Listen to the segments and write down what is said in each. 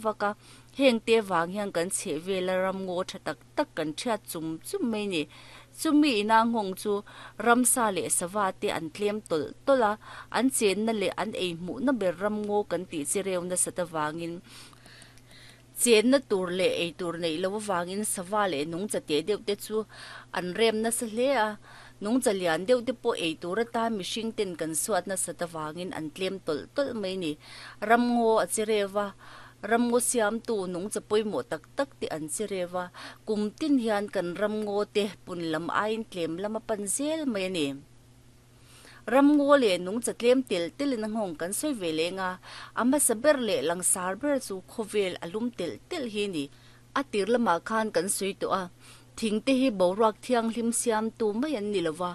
vak a, heng te vang hian kan chhehvela ramngaw tha tak tak kan thiat chum chum mai ni. Chumi ina nghawng chu ramsa leh sava te an tlem tawlh tawlh a, an chenna leh an ei hmuhna ber ramngaw kan tih chi reu nasat avangin chenna tur leh ei tur neih loh avangin sava leh nungcha teh deuh te chu an rem nasa hle a, nungcha lian deuh te pawh ei tur atan mihring ten kan suat nasat avangin an tlem tawlh tawlh mai ni. Ramngaw a che reu a, ramngaw siamtu nungcha pawimawh tak tak te an che reu a, kum tin hian kan ramngaw te pun lam aiin tlem lam a pan zel mai a ni. Ramngaw leh nungcha tlem tel telin a nghawng kan sawi ve leng a, a hmasa ber leh langsar ber chu khawvel a lum telh telh hi a ni. A tir lamah khan kan sawi tawh a, thing te hi boruak thianghlim siamtu mai an ni lova,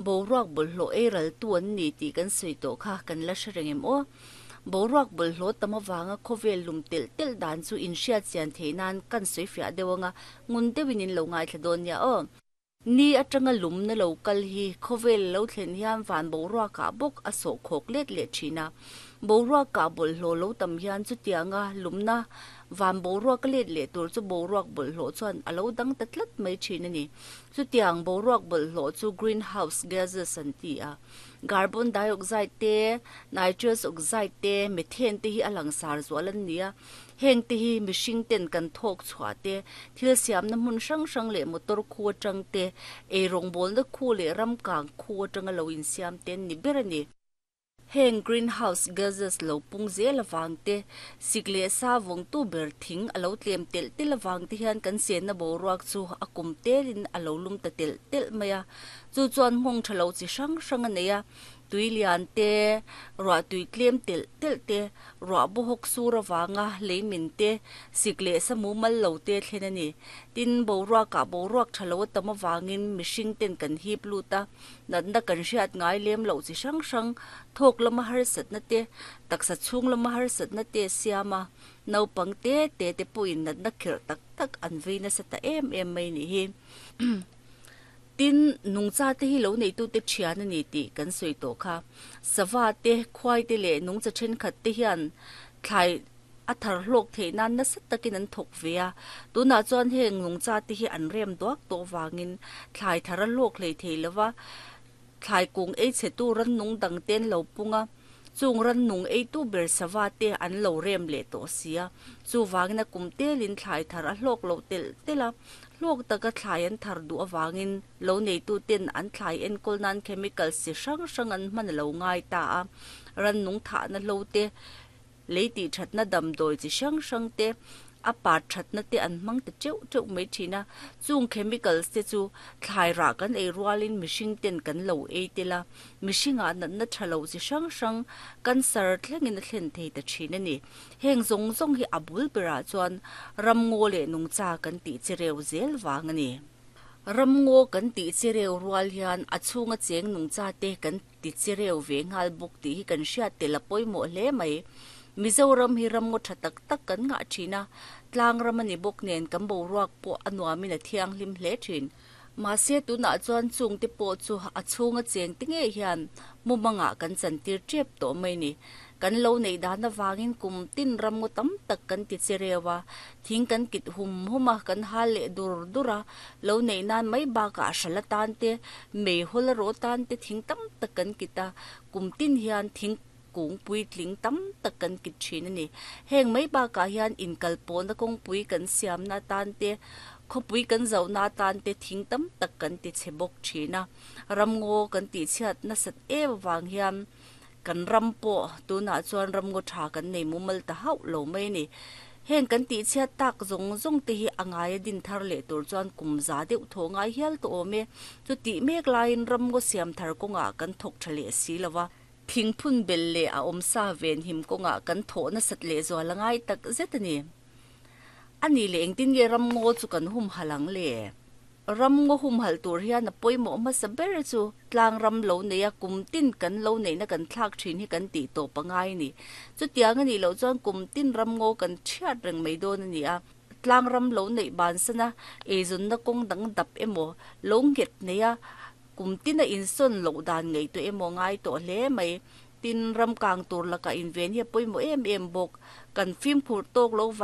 boruak bawlhhlawh ei raltu an ni tih kan sawi tawh kha kan la hre reng em aw? Boruak bawlhhlawh tam avanga khawvel lum telh telh dan chu inhriat chian theih nan kan sawi fiah deuh anga ngun deuhin in lo ngaithla dawn nia aw. Ni atanga lumna lo kal hi khawvel lo thlen hian van boruakah bawk a sawh khawk let leh thin a. Boruakah bawlhhlawh lo tam hian chutianga lumna van boruak a let leh tur chu boruak bawlhhlawh chuan a lo dang ta tlat mai thin a ni. Chutiang boruak bawlhhlawh chu greenhouse gases an ti a. Carbon dioxide te, nitrous oxide te, methane te hi a langsar zual an ni a. Heng te hi mihring ten kan thawk chhuah te, thil siamna hmun hrang hrang leh motor khu atang te, ei rawngbawlna khu leh ram kang khu atanga lo insiam te an ni ber a ni. Heng greenhouse gases lo pung zel avang te, sik leh sa vawngtu ber thing a lo tlem telh telh avang te hian kan chenna boruak chu a kum telin a lo lum ta telh telh mai a. Chu chuan nghawng tha lo chi hrang hrang a nei a. Tui lian te, ruah tui tlem telh telh te, ruah bawhawk sur avanga lei min te, sik leh sa mumal lo te thlen a ni. Tin, boruakah boruak tha lo a tam avangin mihring ten kan hip lut a, natna kan hriat ngai lem loh chi hrang hrang, thawk lama harsatna te, taksa chhung lama harsatna te siam a, naupang te te te pawhin natna khirh tak tak an vei nasa ta em em mai nih hi. Tin, nungcha te hi lo neitute thian a ni tih kan sawi tawh kha. Sava te, khuai te leh nungcha thenkhat te hian thlai a thar hlawk theih nan nasa takin an thawk ve a. Tunah chuan heng nungcha te hi an rem duak tawh vangin thlai thar a hlawk hlei thei lo va, thlai kung ei chhetu rannung dang te an lo pung a, chung rannung eitu ber sava te an lo rem leh tawh si a. Chuvangin a kum telin thlai thar a hlawk loh telh telh a. Hlawk taka thlai an thar duh avangin lo neituten an thlai enkawl nan chemicals chi hrang hrang an hman a lo ngai ta a. Rannung thahna hlo te, lei tih thatna damdawi chi hrang hrang te, a pat thatna te an hmang ta teuh teuh mai thin a. Chung chemicals te chu thlai rah kan ei rualin mihring ten kan lo ei tel a, mihringah natna tha lo chi hrang hrang cancer thlengin a thlen thei ta thin a ni. Heng zawng zawng hi a bul berah chuan ramngaw leh nungcha kan tih chi reu zel vang a ni. Ramngaw kan tih chi reu rual hian a chhunga cheng nungcha te kan ti chi reu ve nghal bawk tih hi kan hriat tel a pawimawh hle mai. Mizoram hi ramngaw tha tak tak kan ngah thin a, tlang ram a ni bawk nen kan boruak pawh a nuamin a thianghlim hle thin. Mahse tunah chuan chungte pawh chu a chhunga chengte ngei hian mumangah kan chantir tep tawh mai ni. Kan lo neih dan avangin kum tin ramngaw tam tak kan ti che reu a, thing kan kit hum hum a, kan hal leh dur dur a, lo neih nan mai bakah hral atan te, meihawl a rawh atan te thing tam tak kan kit a, kum tin hian thing kung puitling tam tak kan kit thin a ni. Heng mai bakah hian inkalpawhna kawngpui kan siamna atan te, khawpui kan zohna atan te thing tam tak kan ti chhe bawk thin a. Ramngaw kan tihchhiat nasat em avang hian kan ram pawh tunah chuan ramngaw tha kan nei mumal ta hauh lo mai a ni. Heng kan tihchhiat tak zawng zawng te hi a ngaia din thar leh tur chuan kum za deuh thaw ngai hial tawh awm e. Chutih mek laiin ramngaw siam thar kawngah kan thawk tha leh si lo va. Thingphun bel leh a awmsa venhim kawngah kan thawh nasat lehzual a ngai tak zet a ni. A nih leh engtin nge ramngaw chu kan humhalh ang le? Ramngaw humhalh tur hian a pawimawh hmasa ber chu tlang ram lo neia kum tin kan lo neihna kan thlak thin hi kan tih tawp a ngai a ni. Chutiang a nih loh chuan kum tin ramngaw kan chhiat reng mai dawn a ni a. Tlang ram lo neih bansana eizawnna kawng dang dap emaw lo nghet neia Kum tin a insawn loh dan ngaihtuah emaw ngai tawh hle mai. Tin, ram kang tur lakah inven hi a pawimawh em em bawk. Kan fimkhur tawk lo vang.